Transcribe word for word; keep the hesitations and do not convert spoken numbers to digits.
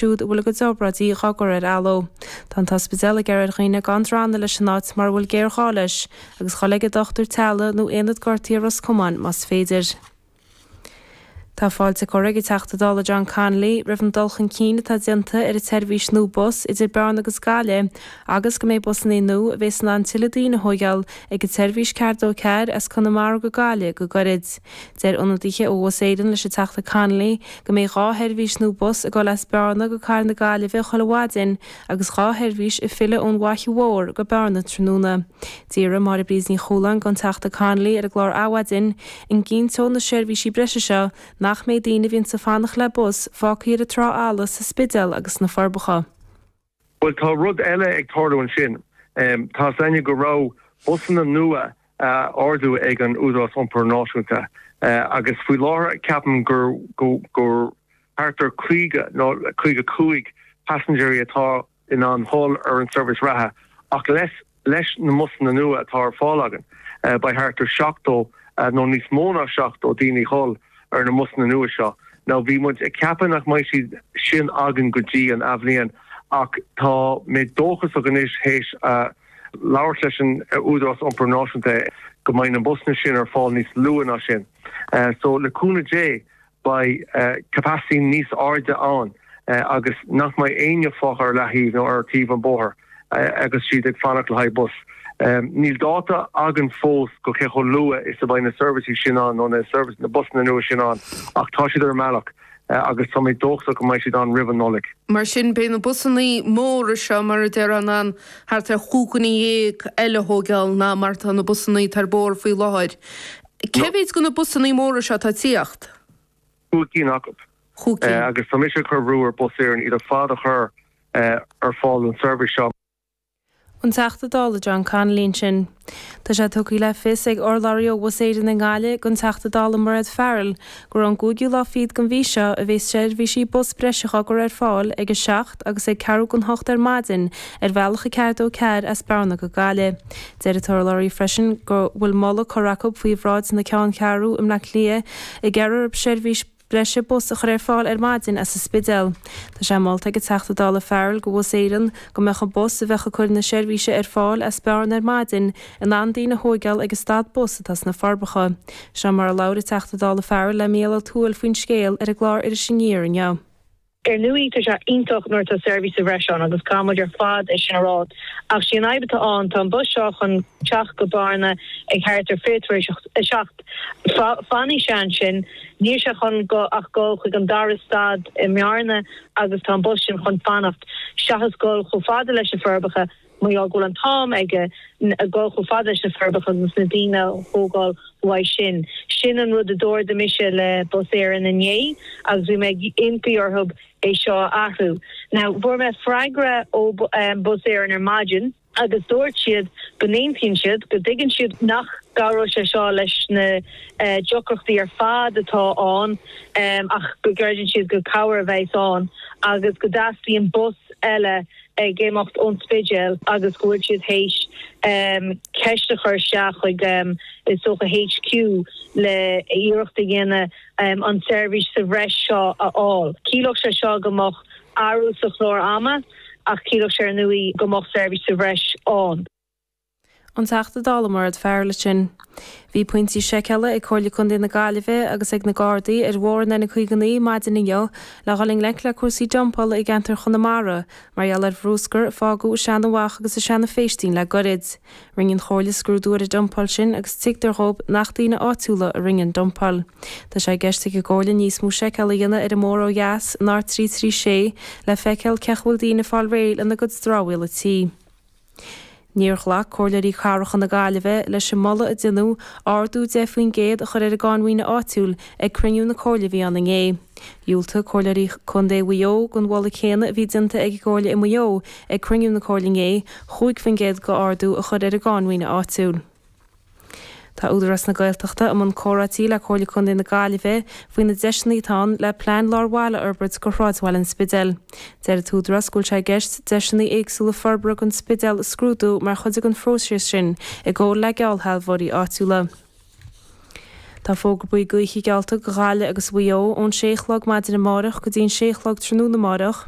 siúd a bhfuil a gcuid obráidí dhá gcur ar athló. Tá an t-ospidéal ag iarraidh ar dhaoine gan drannadh leis an áit mura bhfuil géarghá leis, agus dhul ag an dochtúir teaghlaigh nó aonad gortaithe Ros Comáin más féidir. Tá fáilte curtha ag an Teachta Dála John Connolly roimh an dul chun cinn atá déanta ar an tseirbhís nua bus idir Bearna agus Gaillimh agus go mbeidh busanna nua a bheas in ann tuilleadh daoine a thóigeáil ag an tseirbhís ceathair dó ceathair as Conamara go Gaillimh go gairid. Deir ionadaithe ó Bhus Éireann leis an Teachta Connolly go mbeidh dhá sheirbhís nua bus ag dul as Bearna go Cathair na Gaillimhe chuile mhaidin agus dhá sheirbhís ag filleadh ón bhFaiche Mhór go Bearna tráthnóna. D'iarr Máire Bríd Ní Chualáin den Teachta Connolly ar an gclár Adhmhaidin an gcinnteodh na seirbhísí breise seo nach mbeidh daoine a bhíonns ag fanacht le bus fágtha ar an trá fhalla sa Spidéal agus sna Forbacha. Bhuel tá rud eile ag tarlú ansin. Tá 's againne go raibh busanna nua á ordú ag an Údarás Iompair Náisiúnta agus faoi láthair ceapaim gur gur thart ar caoga nó caoga cúig paisinéirí atá in ann dhul ar an seirbhís reatha ach leis leis na mbusanna nua atá ar fáil againn beidh thart ar seachtó nó níos mó ná seachtó daoine dhul ar na mbusanna nua seo. Now bhí muid ag ceapadh nach mbeidh siad sin againn go dtí an athbhliain ach tá mé dóchasach anois théis labhairt leis an Údarás Iompair Náisiúnta go mbeidh na busanna sin ar fáil níos luaithe ná sin. So le cúnamh Dé beidh capacity níos airde ann agus nach mbeidh éinne fágtha ar leathaobh nó ar taobh an bóthair agus siad ag fanacht le haghaidh bus. Níl dáta againn fós go cé chomh luath is a bheidh na seirbhísí sin ann nó na service na busanna nua sin ann ach tá siad ar an mbealach agus tá mé dóchasach go mbeidh siad ann roimh an Nollaig. Mar sin beidh na busanna móra seo mar a déarfá in ann thart ar chúig dhuine dhéag eile a thógáil ná mar atá na busanna atá ar bóthar faoi láthair. Cé mhéid de na busanna móra seo atá ag tíocht? Cúig cinn acu. Chúig cinn. Agus tá mise ag cur brú ar Bus Éireann iad ar fad a chur ar fáil don seirbhís seo. An Teachta Dála John Connolly ansin. Tá sé tugtha le fios ag urlabhraí ó Bhus Éireann i nGaillimh don Teachta Dála Mairéad Farrell gur ón gcúigiú lá fichead den mhí seo a bheas seirbhísí bus breise á gcur ar fáil ag a seacht agus ag ceathrú don hocht ar maidin ar bhealach a ceathair dó ceathair as Bearna go Gaillimh. Deir an t-urlabhraí freisin go bhfuil moladh curtha acu faoi bhráid na ceanncheathrú i mBleá Cliath ag iarraidh orthu seirbhís breise bus a chur ar fáil ar maidin as an Spidéal. Tá sé molta ag an Teachta Dála Farrell do Bhus Éireann go mbeadh an bus a bheadh ag cur na seirbhíse ar fáil as Bearna ar maidin in ann daoine a thóigeáil ag an stad bus atá sna Forbacha. Seo mar a labhair an Teachta Dála Farrell le Mícheál Ó Tuathail faoin scéal ar an gclár Iris Aniar inniu. Ar ndóigh, tá sé iontach nuair atá seirbhís sa bhreis ann agus caithfidh muid ar fad é sin a rá. Ach sí an fhadhb atá ann, tá an bus seo chun teacht go Bearna ag thart ar fiche tar éis a seacht. Fanfaidh sé ansin, níl sé chun ach dul chuig an dara stad i mBearna agus tá an bus sin chun fanacht, seachas dul chomh fada leis na Forbacha. Mar gheall go bhfuil an t-am aige dul chomh fada leis na Forbacha agus na daoine a thógáil uaidh sin. Sin an rud a d'ardaigh mise le Bus Éireann inné agus bhí mé ag impí orthu é seo a athrú. Now, fuair mé freagra ó Bus Éireann ar maidin agus dúirt siad go n-aontaíonn siad, go dtuigeann siad nach gcabhróidh sé seo leis na deacrachtaí ar fad atá ann ach go gcreideann siad gur cabhair a bheas ann agus go dteastaíonn bus eile ag imeacht ón Spidéal agus go bhfuil siad théis ceist a chur isteach chuig is dócha HQ le iarracht a dhéanamh an tseirbhís sa bhreis seo a fháil. Chiallódh sé seo go mbeadh athrú sa chlár ama ach chiallódh sé ar ndóigh go mbeadh seirbhís sa bhreis ann. An Teachta Dála Mairéad Farrell ansin. Bhí pointí seiceála ag Comhairle Contae na Gaillimhe agus ag na Gardaí ar bhóthar an N caoga naoi maidin inniu le dhul i ngleic le cúrsaí dumpála i gceantar Chonamara mar gheall ar bhrúscar a fágadh i Seanadh Mhach agus i Seanadh Phéistín le goirid. Rinne an Chomhairle scrúdú ar an dumpáil sin agus tuigtear dhóibh nach daoine áitiúla a rinne an dumpáil. Tá sé i gceist ag an gComhairle níos mó seiceála a dhéanamh ar an mbóthar ó dheas, an R trí trí sé, le feiceáil cén chaoi a bhfuil daoine ag fáil réidh lena gcuid dramhaíola tí. Níor ghlac Comhairleoirí Cathracha na Gaillimhe leis an moladh a deineadh ardú deich faoin gcéad a chur ar an gcáin mhaoine áitiúil ag cruinniú na Comhairle a bhí ann inné. Dhiúltaigh Comhairleoirí Contae Mhaigh Eo don mholadh céanna a bhí déanta ag an gComhairle i Maigh Eo ag cruinniú na Comhairle inné, chúig faoin gcéad d'ardú a chur ar an gcáin mhaoine áitiúil. Tá Údarás na Gaeltachta i mbun comhráití le Comhairle Contae na Gaillimhe faoi na deiseanna atá ann le plean lár bhaile a fhorbairt do shráidbhaile an Spidéil. Deir an tÚdarás go bhfuil sé i gceist deiseanna éagsúla forbartha don Spidéal a scrúdú mar chuid den phróiseas sin i gcomhar le geallshealbhóirí áitiúla. Tá fógra buí gaoithe geallta do Ghaillimh agus Mhaigh Eo ón sé a chlog maidin amárach go dtí an sé a chlog tráthnóna amárach.